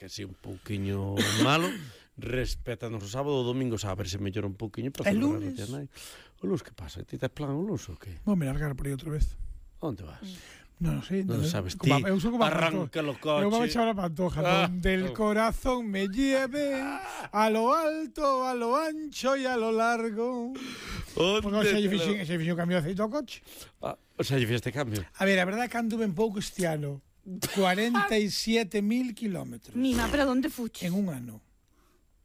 que si un pouquiño malo, respétanos o sábado, o domingo, a ver se mellora un pouquiño para El celebrar lunes? O lunes, que pasa? Ti tes plan o lunes ou que? Vou me largar por aí outra vez. Onde vas? Non sei. Non sabes ti. Eu sou como Arranca o coche. Eu vou echar a Pantoja. Donde el corazón me lleve a lo alto, a lo ancho y a lo largo. Porque xa lle fixen cambio de aceite ao coche. O sea, lle fixeste cambio. A ver, a verdade é que ando ben pouco este ano. 47.000 kilómetros. Mima, pero onde fuches? En un ano.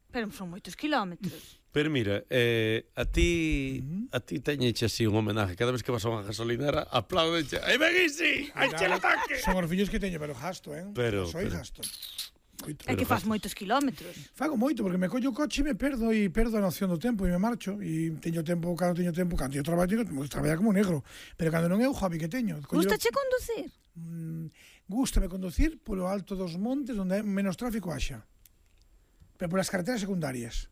Pero son moitos kilómetros. Pero mira, a ti teñeche así un homenaje. Cada vez que vas a unha gasolinera, apláudeche. ¡Aí ven isi! ¡Aí che el ataque! Son os fillos que teño, pero gasto, Pero gasto. É que faz moitos kilómetros. Fago moito, porque me collo o coche e me perdo a noción do tempo e me marcho. E teño tempo, cando teño traballo, traballar como negro. Pero cando non é o hobby que teño. Gústache conducir? Gústame conducir polo alto dos montes onde menos tráfico haxa. Pero polas carreteras secundarias.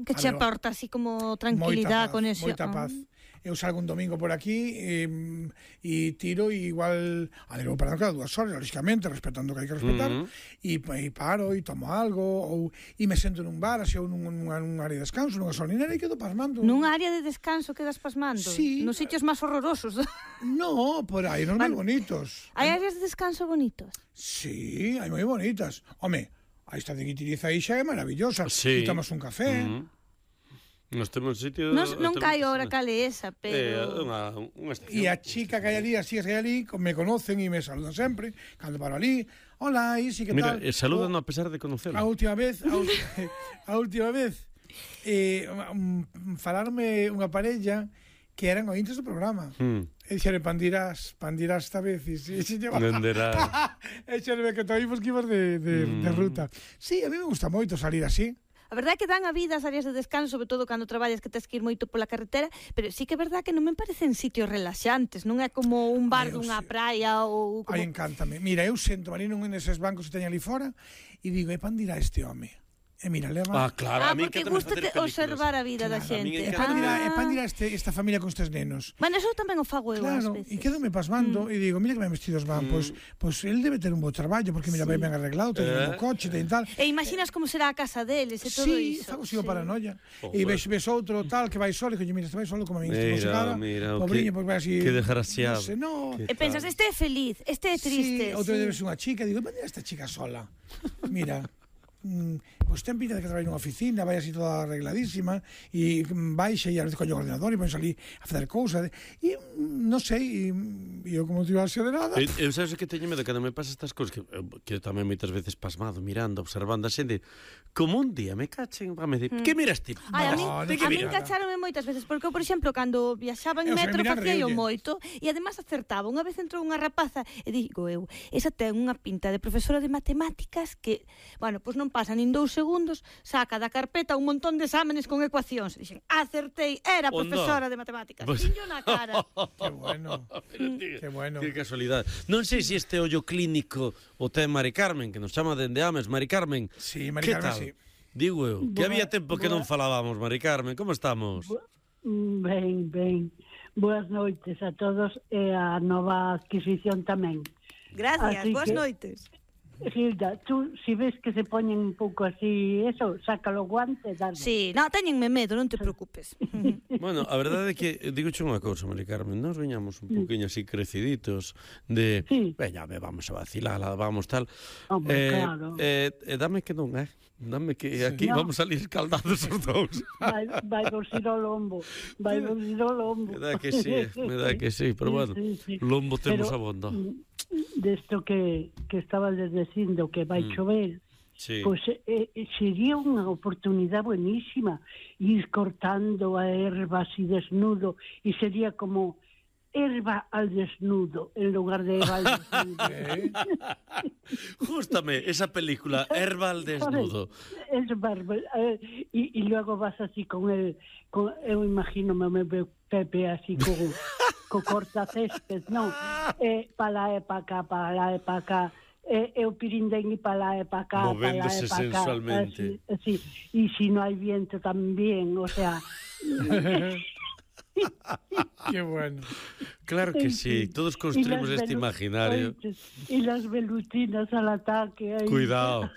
Que che aporta así como tranquilidade con eso. Moita paz. Eu salgo un domingo por aquí e tiro e igual vou parando cada 2 horas, lógicamente, respetando o que hai que respetar, e paro e tomo algo e me sento nun bar, así ou nun área de descanso, nunha gasolinera e quedo pasmando. Nun área de descanso quedas pasmando? Sí. Nos sitios máis horrorosos? No, por aí, non moi bonitos. Hai áreas de descanso bonitos? Sí, hai moi bonitas. Home, a esta de Guitiriza aí xa é maravillosa. Sí. E tomas un café. Nos temos sitio... Non caio ahora cale esa, pero... Unha estación. E a chica que hai ali, as chicas que hai ali, me conocen e me saludan sempre. Cando paro ali, hola, Isi, que tal? Mira, saludan a pesar de conocelo. A última vez, falarme unha parella que eran ointes do programa. E dixeron, pandirás esta vez. E se lleva... Venderás. E xerve que toimos que ibas de ruta. Sí, a mí me gusta moito salir así. A verdade é que dan a vida as áreas de descanso, sobre todo cando traballas que tes que ir moito pola carretera, pero sí que é verdade que non me parecen sitios relaxantes, non é como un bar dunha praia ou... Ai, encántame. Mira, eu sento ali nun neses bancos que teño ali fora e digo, pan dirá este home? E mira, leva... claro, a mí porque gústate observar a vida da xente. E pan dirá esta familia con estes nenos. Bueno, eso tamén o fago eu ás veces. E quedome pasmando e digo, mira que ben vestidos van, pois el debe ter un bo traballo, porque mira, ben arreglado, ten un coche, ten tal. E imaginas como será a casa deles e todo iso. Sí, fago sigo paranoia. E ves outro tal que vai solo, e digo, mira, este vai solo como a min, este chegada, pobriño, porque vai así... Que desgraciado. E pensas, este é feliz, este é triste. Sí, outra vez unha chica, digo, mira esta chica sola. Mira... pois ten pinta de que trabalha nunha oficina, vai así toda arregladísima e baixa e a veces colle o ordenador e põe ali a facer cousas e non sei, e eu como non tivase de nada. Eu sabes que teño medo cando me pasa estas cousas que eu tamén moitas veces pasmado, mirando, observando a xente, como un día me cachen, me dicir, que miras ti? A min cacharonme moitas veces, porque eu, por exemplo, cando viaxaba en metro facía moito e además acertaba. Unha vez entrou unha rapaza e digo eu, esa ten unha pinta de profesora de matemáticas que, bueno, pois non pasa nin 2 segundos, saca da carpeta un montón de exámenes con ecuacións. Dixen, acertei, era profesora de matemáticas. Tiño na cara. Que bueno. Que bueno. Que casualidade. Non sei se este ollo clínico o ten Mari Carmen, que nos chama dende Ames. Mari Carmen, sí, Mari Carmen, sí. Digo eu, que había tempo que non falábamos, Mari Carmen. Como estamos? Ben. Boas noites a todos e a nova adquisición tamén. Gracias, boas noites. Gilda, tú, si ves que se poñen un pouco así, eso, sácalo guante, dale. Sí, téñenme medo, non te preocupes. Bueno, a verdade é que, digoche unha cousa, Mari Carmen, nós veñamos un pouquinho así creciditos de, veña, vamos a vacilala, vamos tal. Claro. Dame que non, dame que aquí vamos a salir escaldados os dous. Vai dorcir o lombo, Me dá que sí, pero bueno, lombo temos abondo. Desto que estaba dicindo que vai chover, pois sería unha oportunidade buenísima ir cortando a erva así desnudo e sería como erva al desnudo en lugar de erva al desnudo. Jústame esa película, Erva al desnudo. Es bárbaro. Y luego vas así con el... eu imagino me veo Pepe así co cortacésped, non? Para lá e pa cá. E o pirindén e para lá e pa cá. Movéndose sensualmente. Sí. E si non hai viento tamén, o sea... Qué bueno. Claro que sí, todos construimos este imaginario. Y las velutinas al ataque. Cuidado,